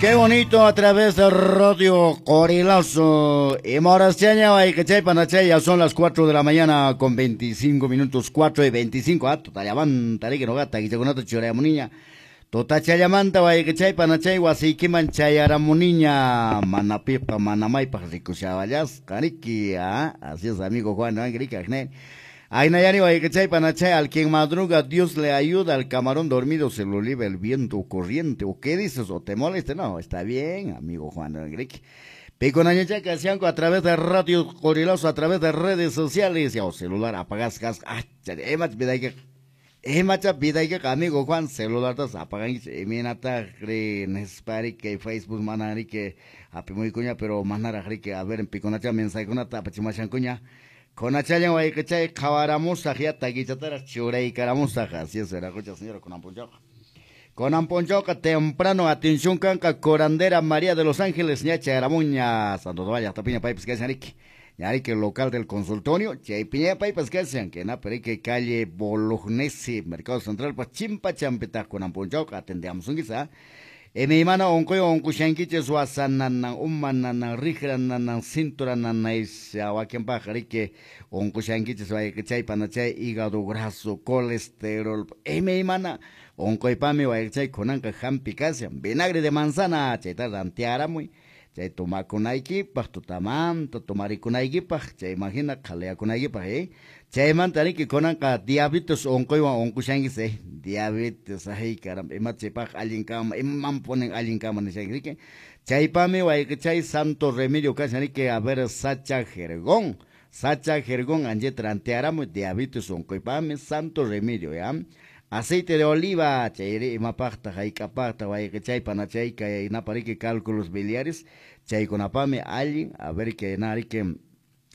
Qué bonito a través de Radio Corilazo. Y Morastiaña, ya son las 4 de la mañana con 25 minutos, 4:25. Ah, tutayamanta, que no gata, que choconato choreamuniña. Tutachallamanta, wayqechaypa nachay wasiykiman chayaramuniña. Manapipa, manamaypaq rikushaballas, qariki, ah. Así es, amigo Juan, ¿no? Aynayani wayqechaypa nachay, al quien madruga Dios le ayuda, al camarón dormido se lo lleva el viento corriente. ¿O qué dices? ¿O te molesta? No, está bien, amigo Juan Enrique. Piconañachaca, Sianco, a través de Radio Corilazo, a través de redes sociales, ya o celular, apagas, gas, ah, emacha vidayka, amigo Juan, celular tas apagan, eminata, cre, nespari, que Facebook, manari, que apimuy cuña, pero manara, que a ver, en piconacha, mensaje, kunata, apachimashan cuña. Conachallan wayqechay qhawaramusaq ya takichataraq churaykaramusaq. Así es, viracocha señora kunanpunchawqa. Kunanpunchawqa temprano, atención kanqa curandera María de los Ángeles ña chayaramuña Santo Domingo llaqtapiña paypas kashan riki. Ñariki local del consultorio, chaypiña paypas kashan, que na perique calle Bolognesi, Mercado Central, pa chimpa champitaq kunanpunchawqa atendeamusunkichis, ¿ah? Imaymana unquy unqushankichis wasananan, umananan, riqrananan, cinturananan, wakinpaq riki unqushankichis wayqechaypa nachay hígado graso, colesterol, imaymana unquypami wayqechay kunanqa hampi kashan, vinagre de manzana, chayta rantiaramuy, chay tomakunaykipaq, tutamanta tomarikunaykipaq, chay imagina qhaliyakunaykipaq, ¿eh? Chaymanta riki kunanqa diabetes unquywan unqushankis, ¿eh? Diabetes, ay caramba, ima chaypaq allin kama, iman ponen allin kama nishanki, riki. Chaypami wayqechay Santo Remedio kashan riki, a ver, Sacha Jergón, Sacha Jergón, ancheta rantiaramuy, diabetes unquypami, Santo Remedio, ¿ya? Aceite de oliva, chayri imapaqta, hayk'apaqta, wayqechaypa nachay, kay napariki cálculos biliares, chaykunapami allin, a ver que nariki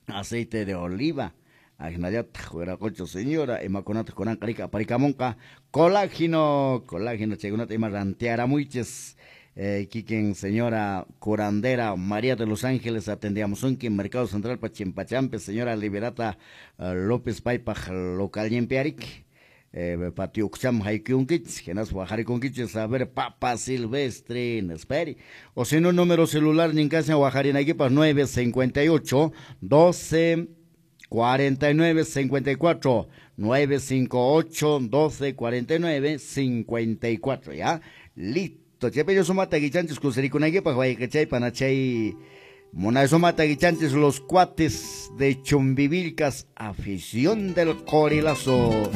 aceite de oliva. Ajinallataq wiraqucha señora, imakunataq kunanqa riki aparikamunqa colágeno, colágeno chaykunata ima rantiaramuychis. Kikin señora curandera María de los Ángeles atendiamusunki Mercado Central pa Chimpachampe, señora Liberata López paypaq local ñimpiariki. Patio ukcham haykyunkichis, hinaspa waqarikunkichis, a ver, papa silvestre, nesperi. O si no, número celular ninkashan waqarinaykipaq 958 12 49 54, 958 12 49 54, ya, listo. Chepello sumata guichanchis kusirikunaykipaq wayqechaypa nachay munay sumata guichanchis los cuates de Chumbivilcas, afición del Corilazo.